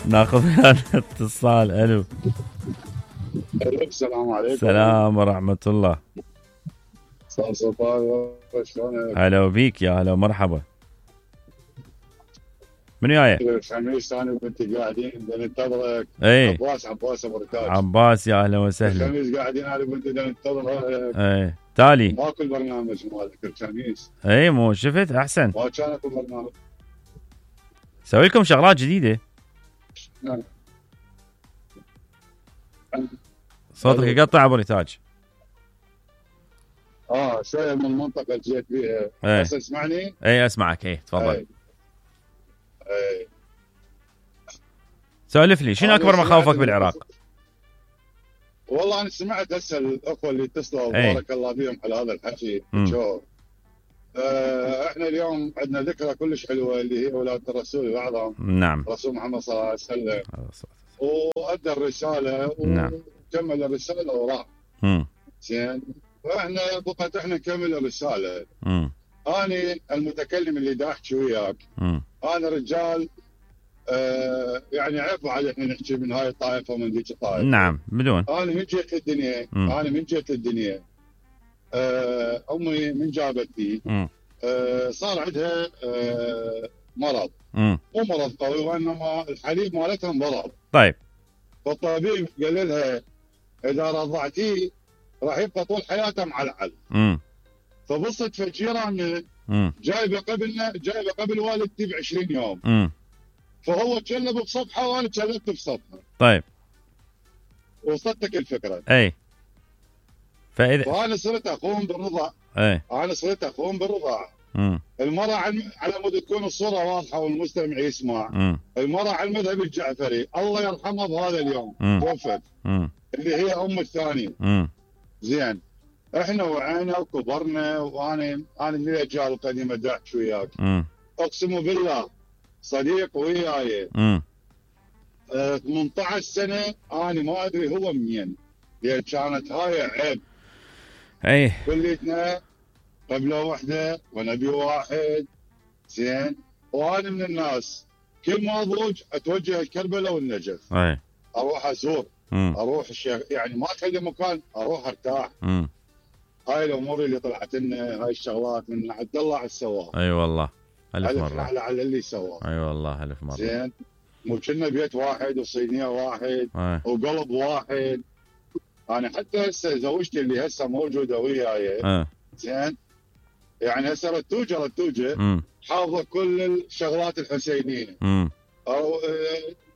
ناخذ اتصال. الو السلام عليكم. السلام ورحمة الله. شلونك؟ هلا بيك يا هلا ومرحبا. من وياي؟ الخميس انا وبنتي قاعدين ننتظرك. اي عباس ابو رتاج. عباس يا اهلا وسهلا. الخميس قاعدين انا وبنتي ننتظرك. اي تالي ماكو البرنامج مالك الخميس. اي مو شفت احسن. ما كان اكو برنامج. سوي لكم شغلات جديدة. نعم. صوتك يقطع ابو رتاج. شويه من المنطقه اللي جيت بيها. بس اسمعني. اي اسمعك. اي تفضل. اي سولف لي شنو اكبر مخاوفك بالعراق؟ والله انا سمعت هسه الاخوه اللي اتصلوا بارك الله فيهم على هذا الحكي. احنا اليوم عندنا ذكرى كلش حلوه اللي هي ولاده الرسول الاعظم. نعم. الرسول محمد صلى الله عليه وسلم. وادى الرساله وكمل الرساله وراح. زين. واحنا بقت احنا نكمل الرساله. انا المتكلم اللي دا احكي وياك. انا رجال يعني عيب على احنا نحكي من هاي الطائفه ومن ذيك الطائفه. نعم بدون. انا من جيت للدنيا. امي من جابتني صار عندها مرض. مو مرض قوي وانما الحليب مالتها انضرب. طيب. فالطبيب قال لها اذا رضعتيه راح يبقى طول حياته معلعل. فبصت فجيراننا جايبه قبل والدتي ب20 يوم. فهو تشلب بصفحه وانا تشلبت بصفحه. طيب. وصلتك الفكره. اي. فانا صرت اقوم بالرضاع. المرأة على مود تكون الصورة واضحة والمستمع يسمع. المرأة على المذهب الجعفري الله يرحمها بهذا اليوم توفت. اللي هي ام الثاني. زين. احنا وعينا وكبرنا وانا من الاجيال القديمة دا احكي وياك. اقسم بالله صديق وياي 18 سنة انا ما ادري هو منين. لان كانت هاي عيب. اي. كليتنا قبله وحده ونبي واحد. زين. وانا من الناس كل ما اضوج اتوجه الكربلاء والنجف. اي. اروح ازور. اروح الشيخ يعني ما اخلي مكان اروح ارتاح. هاي الامور اللي طلعت لنا هاي الشغلات من عبد الله على السواق. اي والله الف مره. على اللي سواه. اي والله الف مره. زين. مو كنا بيت واحد وصينيه واحد وقلب واحد. انا حتى هسه زوجتي اللي هسه موجوده وياي. زين. يعني هسه رتوجه حافظه كل الشغلات الحسينيه. او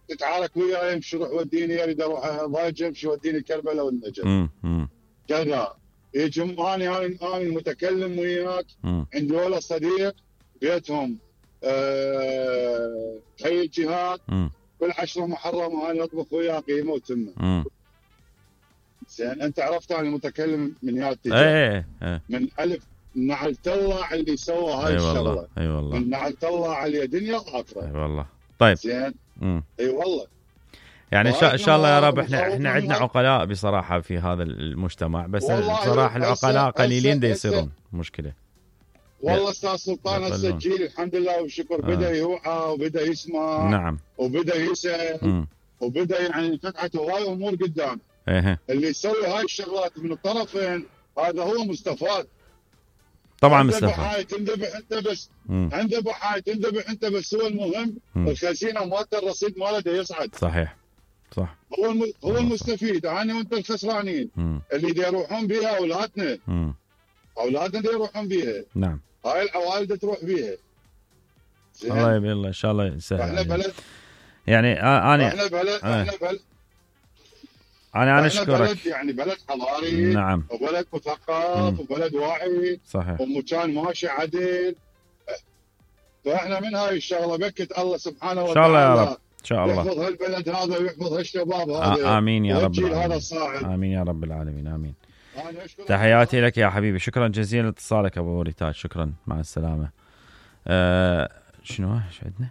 تتعارك وياي امشي روح وديني اريد اروح ضايج امشي وديني كربلاء والنجف. كذا يجي انا المتكلم وياك. عندي ولا صديق بيتهم حي الجهاد كل 10 محرم انا اطبخ وياه قيمه وتمه. زين. انت عرفت انا المتكلم من يا التجار. من الف نعلت الله على اللي سوى هاي الشغله. اي والله. من نعلت الله على دنيا واخره. اي والله. طيب. زين. اي والله. يعني ان شاء الله يا رب احنا عندنا عقلاء بصراحه في هذا المجتمع بس بصراحه العقلاء قليلين دا يصيرون مشكله. والله استاذ سلطان هسه الجيل الحمد لله والشكر بدا يوعى وبدا يسمع. نعم. وبدا يسال وبدا يعني فتحت هواي امور قدام. اللي يسوي هاي الشغلات من الطرفين هذا هو مستفاد. طبعا مستفاد. عنده بحاية تنذبح انت بس. عنده بحاية تنذبح انت بس. هو المهم الخزينه مالته الرصيد مالته يصعد. صحيح. صح. هو المستفيد. انا وانت الخسرانين. اللي دا يروحون بها اولادنا. اولادنا دا يروحون بيها. نعم. هاي العوائل تروح بيها. الله يبي الله ان شاء الله يسهل. احنا بلد يعني احنا بلد انا اشكرك. بلد يعني بلد حضاري. نعم. وبلد مثقف وبلد واعي. صحيح. ومكان ماشي عدل. فاحنا من هاي الشغله بكت الله سبحانه وتعالى. ان شاء الله يا رب. ان شاء الله. يحفظ هالبلد هذا ويحفظ هالشباب هذا. امين يا رب العالمين. هذا الصاعد. امين يا رب العالمين. امين. تحياتي لك يا حبيبي. شكرا جزيلا لاتصالك ابو ريتاج. شكرا مع السلامه. شنو ايش عندنا؟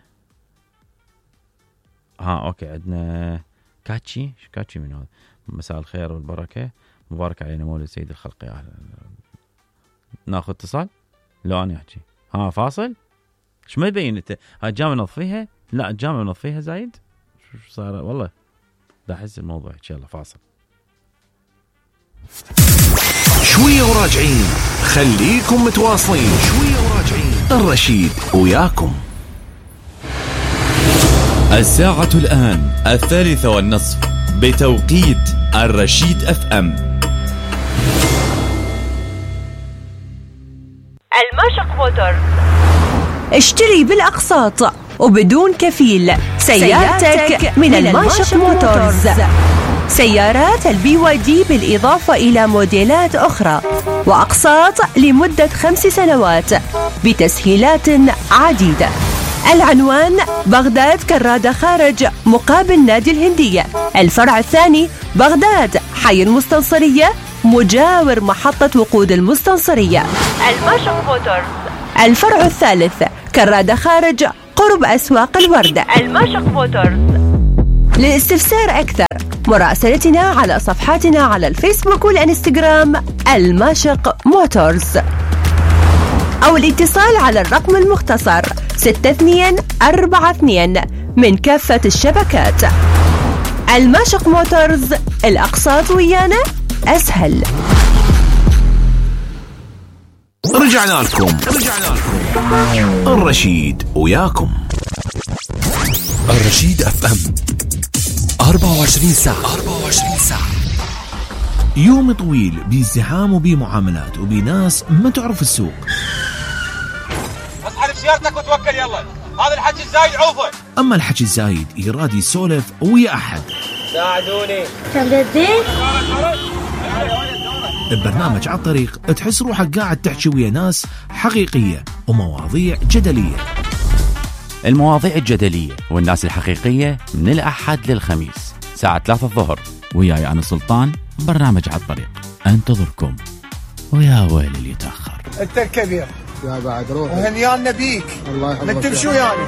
اوكي عندنا كاتشي. كاتشي من هذا؟ مساء الخير والبركه. مبارك علينا مولد سيد الخلق. يا ناخذ اتصال. لو انا احكي فاصل. ايش ما يبين انت؟ الجامعه نظفيها؟ لا الجامعه نظفيها زايد. صار والله دا احس الموضوع ان شاء الله فاصل. شويه وراجعين، خليكم متواصلين. شويه وراجعين، الرشيد وياكم. الساعة الآن 3:30 بتوقيت الرشيد FM. الماشق موتور، اشتري بالأقساط وبدون كفيل سيارتك من الماشق موتورز. سيارات الBYD بالإضافة إلى موديلات أخرى وأقساط لمدة 5 سنوات بتسهيلات عديدة. العنوان بغداد كرادة خارج مقابل نادي الهندية. الفرع الثاني بغداد حي المستنصرية مجاور محطة وقود المستنصرية. الماشق موتورز. الفرع الثالث كرادة خارج قرب أسواق الوردة. الماشق موتورز. للاستفسار أكثر مراسلتنا على صفحاتنا على الفيسبوك والإنستغرام الماشق موتورز، أو الاتصال على الرقم المختصر 6242 من كافة الشبكات. الماشق موتورز، الأقساط ويانا أسهل. رجعنا لكم الرشيد وياكم. الرشيد FM 24 ساعة. يوم طويل بازدحام وبمعاملات وبناس ما تعرف السوق. اصحى بسيارتك وتوكل يلا، هذا الحكي الزايد عوفه. اما الحكي الزايد يراد يسولف ويا احد. ساعدوني. ببرنامج على الطريق تحس روحك قاعد تحكي ويا ناس حقيقية ومواضيع جدلية. المواضيع الجدلية والناس الحقيقية من الأحد للخميس الساعة 3 الظهر. وياي أنا سلطان، برنامج على الطريق انتظركم. ويا ويل اللي يتأخر. انت الكبير يا بعد روح وهنيان نبيك. الله يحفظك. من تمشوا يعني